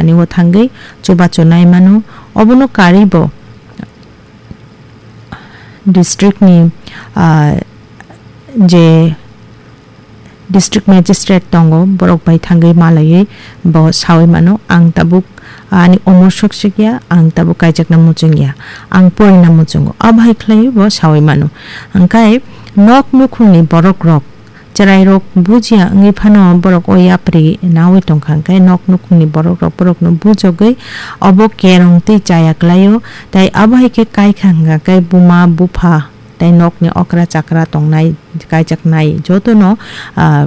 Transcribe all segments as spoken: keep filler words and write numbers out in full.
ani o thangwi chubachu nai mano. Obono karwi bo district ni, ah, je district magistrate tongo, borok bai thangwi malaiwi bo sawi mano, "Ang tabuk ani omor sok sok ya, ang tabuk kaijakna muchung ya, ang porina muchungo." Abo hai khlaiwi bo sawi mano. Hwnkhe nok nukhungni borok rok, chwrairok bujiya wngwi phano borok o yapri nawi tongkha, hwnkhe nok nukhungni borok rok borokno bujogwi obo kerong tei chaya klaio, tei abo hai khe kaikha hwnkha khe buma bupha tei nokni okra chakra tongnai kaijaknai jotono, ah,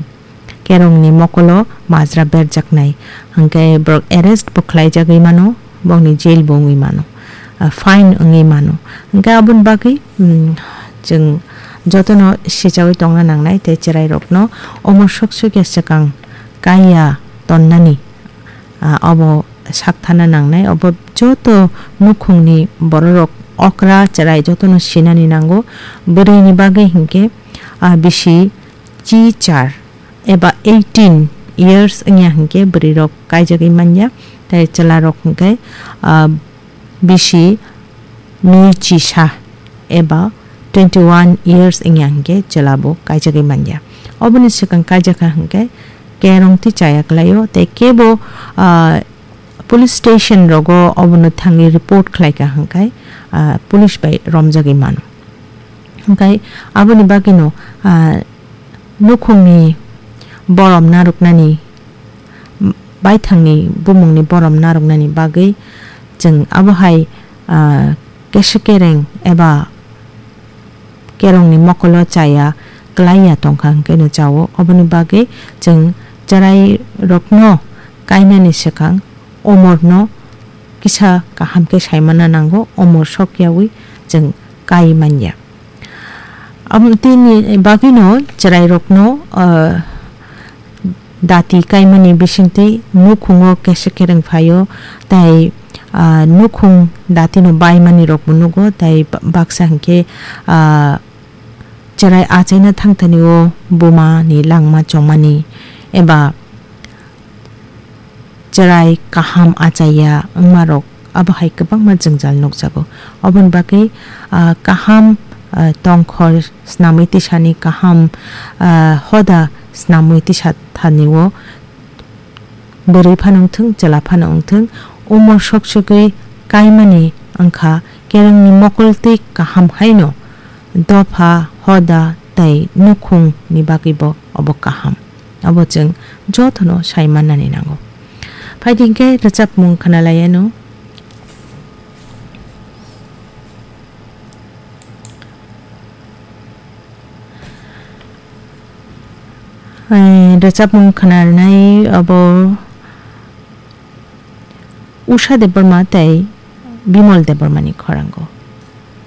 kerongni mokolo majra berjaknai. Hwnkhe borok arrest bo khlaijagwi mano, bokni jail bo wngwi mano, ah, fine wngwi mano. Hwnkhe aboni bagwi, mm, chwng jotono sichawi tongna nangnai tei chwrairokno omo sok sok ya swkang kaiya tonnani, ah, obo sakthana nangnai. Obo joto nukhungni bororok okra chwrai jotono sinani nango. Bwrwini bagwi hinkhe, ah, bisi chi char eba eighteen years wngya hinkhe bwrwirok kaijagwi manya, tei chwlarok hinkhe, ah, bisi nui chisa eba twenty one years wngya hinkhe chwla bo kaijagwi manya. Oboni swkang kaijakha hinkhe kerong tei chaya klaio, tei kebo, ah, police station rogo obono thangwi report khlaikha hwnkhe, ah, police bai romjagwi mano. Hwnkhe aboni bagwino, ah, nukhungni borom narwknani, baithangni bumungni borom narwknani bagwi chwng abo hai, ah, kesa kereng eba kerongni mokolo chaya klaiya tongkha hwnkhe no chao. Oboni bagwi chwng chwrairokno kainani swkang omorno kisa kaham khe saimana nango, omor sokyawi chwng kai manya. Aboni bagwino chwrairokno, ah, dati kaimani bisingtwi nukhungo kesa kereng phaio, tei, ah, nukhung datino baimani rokbo nugo, tei ba-, baksa hinkhe, ah, chwrai achaina thangthani o buma ni langma chongmani eba chwrai kaham achaiya wngmarok abo hai kwbangma jwngjal nukjago. Oboni bagwi, ah, kaham, ah, tongkhor snamwi tisani kaham, ah, hoda snamwi tisa thani o bwrwi phano wngthung, chwla phano wngthung, umor sok sogwi kaimani wngkha kerengni mokol twi kaham haino dopha, hoda tei nukhung ni bagwi bo obo kaham. Abo chwng jotono sai mannani nango. Phaidi hinkhe rwchapmung khwnalaianw. Eh, rwchapmung khwnanai abo Usha Debbarma tei Bimal Debbarmani khorango.